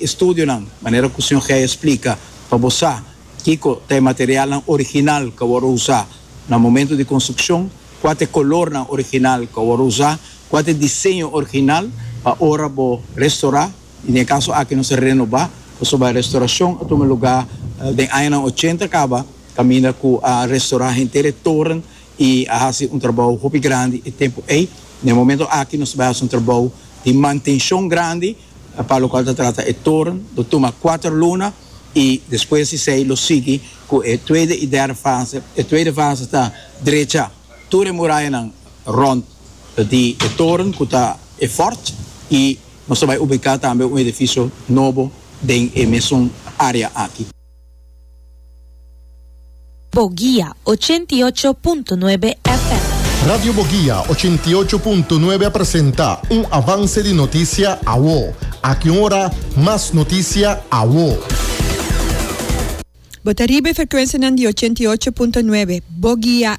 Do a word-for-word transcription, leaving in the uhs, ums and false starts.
Estudionan, manera ku señor Gei a splika, pa bo sa kiko ta e materialnan original ku a wòrdu usá na momento di konstrukshon, kua ta e kolornan original ku a wòrdu usá, kua ta e diseño original pa ora bo restourá, i den e kaso aki nos a renobá, pasobra e restourashon a tuma lugá den añanan ochenta kaba, kaminda ku a restourá henter e toren i a hasi un trabou hopi grandi e tempu ei. Na e momento aki nos ta bai hasi un trabou di mantenshon grandi pa lokual ta trata e toren, lo tuma kuater luna i despues di esei lo sigui ku e tweede i derde fase. E tweede fase ta drecha tur e murayanan rònt di e toren ku ta e fòrt i nos ta bai ubiká tambe un edifisio nobo den e mesun área aki. Boguia ochenta i ocho punto nuebe F M. Radio Boguia ochenta i ocho punto nuebe a presenta un avance di noticia awo. Aki un ora, mas noticia awo. Bo ta riba e frekuensianan di ochenta i ocho punto nuebe, Boguia